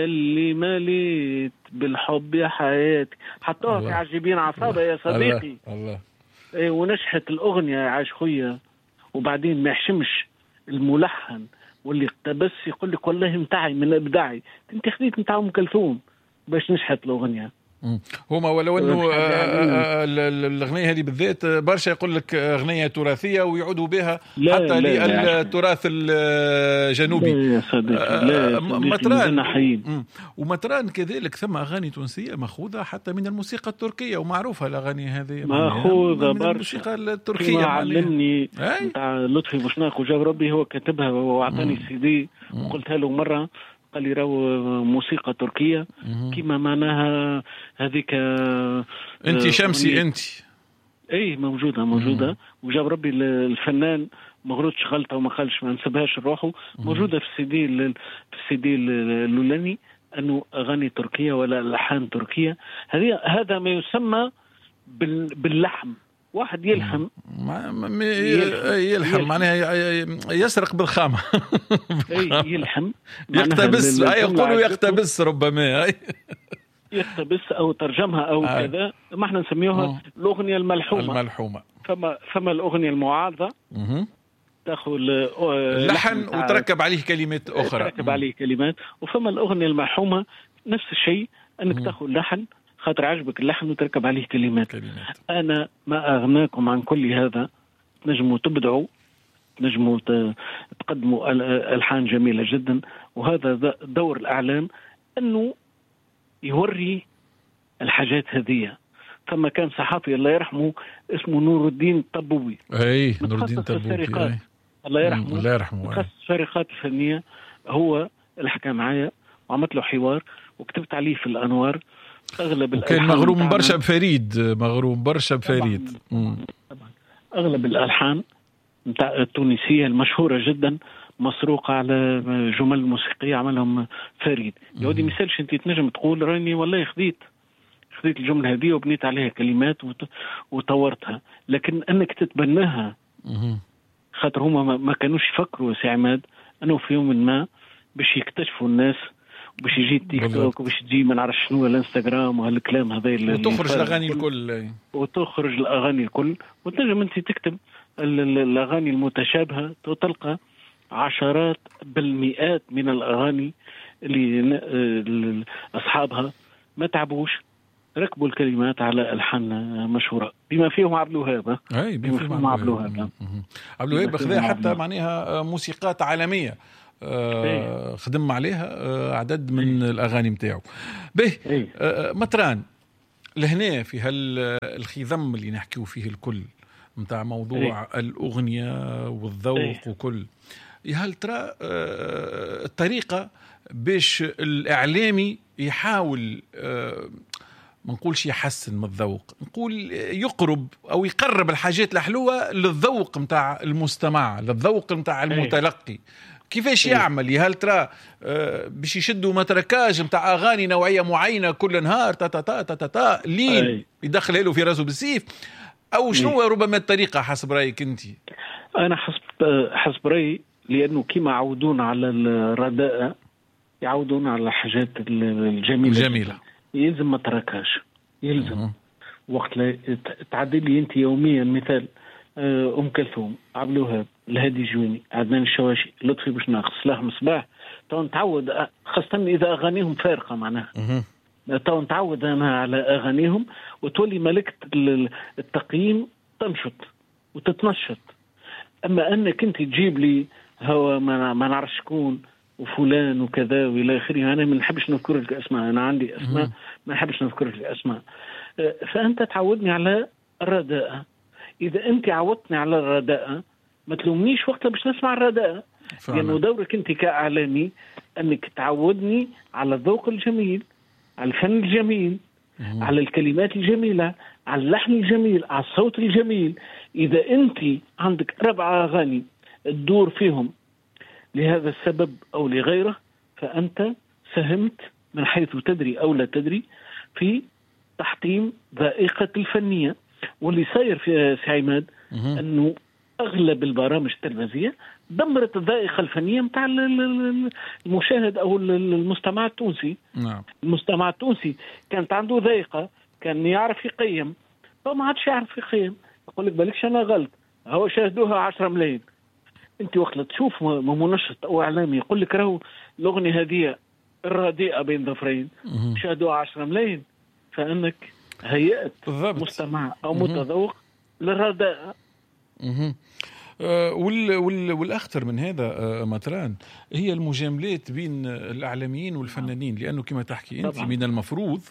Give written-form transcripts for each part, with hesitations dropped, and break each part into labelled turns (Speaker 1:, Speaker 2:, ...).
Speaker 1: اللي مليت بالحب يا حياتي، حطوها في عجيبين عصابة يا صديقي.
Speaker 2: الله الله.
Speaker 1: ايه، ونجحت الاغنية يا عاش خويا. وبعدين ما يحشمش الملحن واللي اقتبس يقول لك والله متاعي من ابداعي، انت خذيت نتاع ام كلثوم باش نجحت الاغنية.
Speaker 2: هما ولو انه الاغنية هذه بالذات برشا يقول لك اغنية تراثيه ويعودوا بها حتى للتراث الجنوبي.
Speaker 1: لا يا صديقي، لا يا صديقي،
Speaker 2: مطران. ومطران كذلك ثم اغاني تونسية ماخوذة حتى من الموسيقى التركية، ومعروفة الاغاني هذه
Speaker 1: ماخوذة
Speaker 2: من الموسيقى التركية.
Speaker 1: علمني نتاع لطفي بوشناق وجاب ربي هو كاتبها واعطاني السي دي وقلتها له مرة، قال لي راهو موسيقى تركية كيما معناها هذيك.
Speaker 2: انت شمسي انت.
Speaker 1: اي موجودة موجودة. وجاب ربي الفنان ما غلطش غلطة وما قالش ما نسبهاش لروحه، موجودة في السي دي، في السي دي الاولاني انه اغاني تركية ولا الحان تركية. هذه هذا ما يسمى باللحم، واحد يلحم
Speaker 2: يلحم معناها يسرق بالخامة.
Speaker 1: يلحم
Speaker 2: يقتبس، يقولوا يقتبس ربما
Speaker 1: يقتبس أو ترجمها أو كذا، ما احنا نسميوها الأغنية الملحومة.
Speaker 2: الملحومة.
Speaker 1: فما الأغنية المعارضة تاخذ
Speaker 2: لحن وتركب عليه كلمات أخرى،
Speaker 1: تركب عليه كلمات. وفما الأغنية الملحومة نفس الشيء، أنك تاخذ لحن خاطر عجبك اللحن وتركب عليه كلمات. أنا ما أغناكم عن كل هذا، تنجموا تبدعوا، تنجموا تقدموا ألحان جميلة جدا. وهذا دور الإعلام أنه يوري الحاجات هذه. ثم كان صحافي الله يرحمه اسمه نور الدين الطبوبي.
Speaker 2: أي نور الدين الطبوبي
Speaker 1: الله يرحمه،
Speaker 2: الله يرحمه،
Speaker 1: متخصص السرقات الفنية. هو اللي حكى معايا وعملت له حوار وكتبت عليه في الأنوار. اغلب
Speaker 2: وكان مغروم برشا بفريد، مغروم برشا بفريد.
Speaker 1: طبعا اغلب الالحان نتاع التونسية المشهورة جدا مسروقه على جمل موسيقية عملهم فريد. يا ودي مثالش انت تنجم تقول راني والله خذيت الجملة هذه وبنيت عليها كلمات وطورتها، لكن انك تتبناها خاطر هما ما كانوش يفكروا سي عماد انه في يوم ما باش يكتشفوا الناس، باش يجي التيك توك وباش تجي ما نعرف شنو الانستغرام وهالكلام هذا،
Speaker 2: وتخرج الاغاني الكل،
Speaker 1: وتخرج الاغاني الكل. وتنجم انت تكتب الاغاني المتشابهة وتلقى عشرات بالمئات من الاغاني اللي اصحابها ما تعبوش، ركبوا الكلمات على الحان مشهورة بما فيهم عبد الوهاب.
Speaker 2: اي بما فيهم عبد الوهاب. عبد الوهاب خذا حتى معناها موسيقات عالمية، خدم عليها عدد من الأغاني متاعه. به مطران لهنا في هالخضم اللي نحكيو فيه الكل متاع موضوع الأغنية والذوق وكل، هل ترى الطريقة باش الإعلامي يحاول ما نقولش يحسن من الذوق، نقول يقرب أو يقرب الحاجات الحلوة للذوق متاع المستمع، للذوق متاع المتلقي، كيفاش يعمل؟ هل ترى باش يشدوا متركاج متاع أغاني نوعية معينة كل نهار تا تا تا تا تا لين يدخل له في راسه بالسيف، أو شنو ربما الطريقة حسب رأيك أنت؟
Speaker 1: أنا حسب رأيي لأنه كما عودونا على الرداءة يعودونا على الحاجات الجميلة.
Speaker 2: الجميلة
Speaker 1: يلزم ما تركهاش، يلزم وقت تعدي لي أنت يوميا مثال أم كلثوم، عبد الوهاب، الهادي جويني، عدنان الشواشي، لطفي بوشناق، صلاح مصباح، تو نتعود، خاصة إذا أغانيهم فارقة معناها تو نتعود أنا على أغانيهم، وتولي ملكة التقييم تنشط وتتنشط. أما أنك أنت تجيب لي هو ما نعرف شكون وفلان وكذا وإلى آخره، أنا ما نحبش نذكر لك أسماء، أنا عندي أسماء ما نحبش نذكر لك أسماء. فأنت تعودني على الرداءة. إذا أنت عودتني على الرداءة ما تلومنيش وقتها باش نسمع الرداءة، لأنه دورك أنت كإعلامي أنك تعودني على الذوق الجميل، على الفن الجميل، على الكلمات الجميلة، على اللحن الجميل، على الصوت الجميل. إذا أنت عندك 4 أغاني تدور فيهم لهذا السبب أو لغيره، فأنت ساهمت من حيث تدري أو لا تدري في تحطيم ذائقة الفنية. واللي صاير في سي عماد أنه اغلب البرامج التلفزيونية دمرت الذائقة الفنية نتاع المشاهد او المستمع التونسي.
Speaker 2: نعم.
Speaker 1: المستمع التونسي كانت عنده ذائقة، كان يعرف يقيم، فما عادش يعرف يقيم، يقول لك بالكش انا غلط، هو شاهدوها 10 ملايين. انت وقت تشوف منشط او اعلامي يقول لك راهو الاغنية هذه الرديئة بين ظفرين شاهدوها 10 ملايين، فانك هيأت
Speaker 2: بالضبط
Speaker 1: مستمع او متذوق للرداءه.
Speaker 2: والاخطر من هذا مطران هي المجاملات بين الاعلاميين والفنانين، لانه كما تحكي انت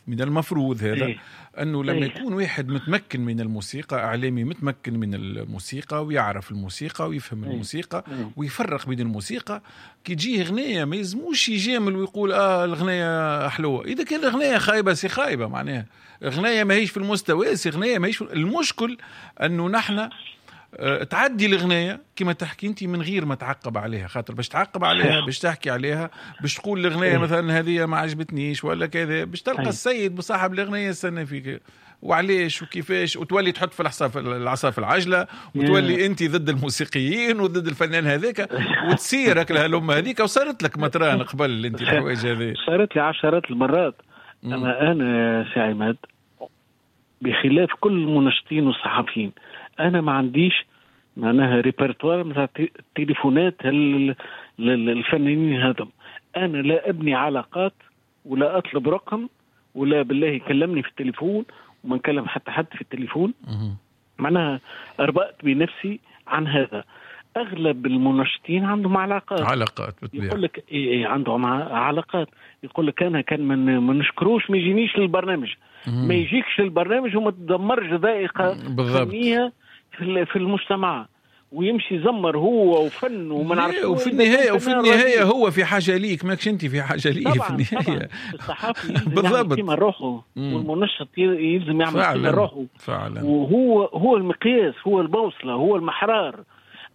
Speaker 2: من المفروض هذا انه لما يكون واحد متمكن من الموسيقى، اعلامي متمكن من الموسيقى ويعرف الموسيقى ويفهم الموسيقى ويفرق بين الموسيقى، كي تجيه غنية ما يلزموش يجامل ويقول الغنية حلوة. اذا كان الغنية خايبة c'est خايبة، معناها غنية ماهيش في المستوى، c'est غنية ماهيش. المشكل انه نحن تعدي الغنايه كما تحكي انت من غير ما تعقب عليها، خاطر باش تعقب عليها، باش تحكي عليها، باش تقول الغنايه مثلا هذه ما عجبتنيش ولا كذا، باش تلقى السيد بصاحب الغنايه يستنى فيك وعليش وكيفاش، وتولي تحط في العصا في العجلة، وتولي انت ضد الموسيقيين وضد الفنان هذاك، وتصيرك لهالأمة هذيك. وصارت لك مطران قبل انت الحوايج هذه؟
Speaker 1: صارت لي عشرات المرات. انا سي عماد بخلاف كل المنشطين والصحفيين، انا ما عنديش معناها ريبرتوار نتاع التليفونات الفنانين هذم. انا لا ابني علاقات ولا اطلب رقم ولا بالله يكلمني في التليفون، وما نكلم حتى حد في التليفون. معناها اربأت بنفسي عن هذا. اغلب المنشطين عندهم علاقات
Speaker 2: بالطبيعة،
Speaker 1: يقول لك إيه عندهم علاقات، يقول لك انا كان ما نشكروش ما يجينيش للبرنامج. ما يجيكش للبرنامج وما تدمرش ذائقة فنية في المجتمع، ويمشي يزمر هو وفن وما نعرف.
Speaker 2: وفي النهاية هو في حاجة ليك، ماكش انت في حاجة ليه. في النهاية
Speaker 1: الصحافي بالضبط كيما روحه، والمنشط يلزم يعمل كيما روحه
Speaker 2: فعلا،
Speaker 1: وهو هو المقياس، هو البوصلة، هو المحرار.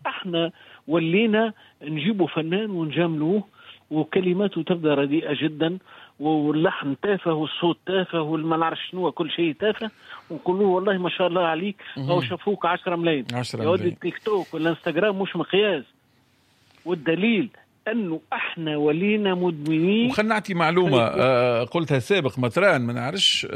Speaker 1: احنا ولينا نجيبوا فنان ونجاملوه، وكلماته تبدا رديئة جدا، واللحن تافه، والصوت تافه، والما نعرف شنو، كل شيء تافه، ونقول له والله ما شاء الله عليك، او شافوك 10 ملايين. يا ودي التيك توك والانستغرام مش مقياس. والدليل انه احنا ولينا مدمنين.
Speaker 2: وخلنا نعطي معلومة قلتها سابق مطران، ما نعرفش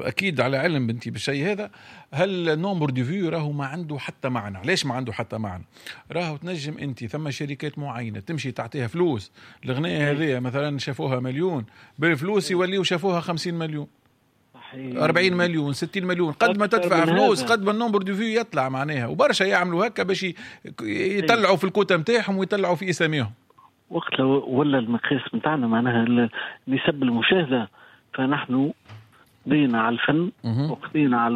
Speaker 2: اكيد على علم بنتي بالشيء هذا، هل nombre de vues راهو ما عنده حتى معنى. علاش ما عنده حتى معنى؟ راهو تنجم انت ثم شركات معينة تمشي تعطيها فلوس، الغنية هذه مثلا شافوها مليون، بالفلوس يوليو شافوها 50 مليون، 40 مليون، 60 مليون. قد ما تدفع فلوس قد ما ال nombre de vues يطلع معناها. وبرشا يعملوا هكا باش يطلعوا في الكوتا نتاعهم ويطلعوا في اساميهم.
Speaker 1: وقت ولا المقياس نتاعنا معناها نسب المشاهدة، فنحن قضينا على الفن وقضينا على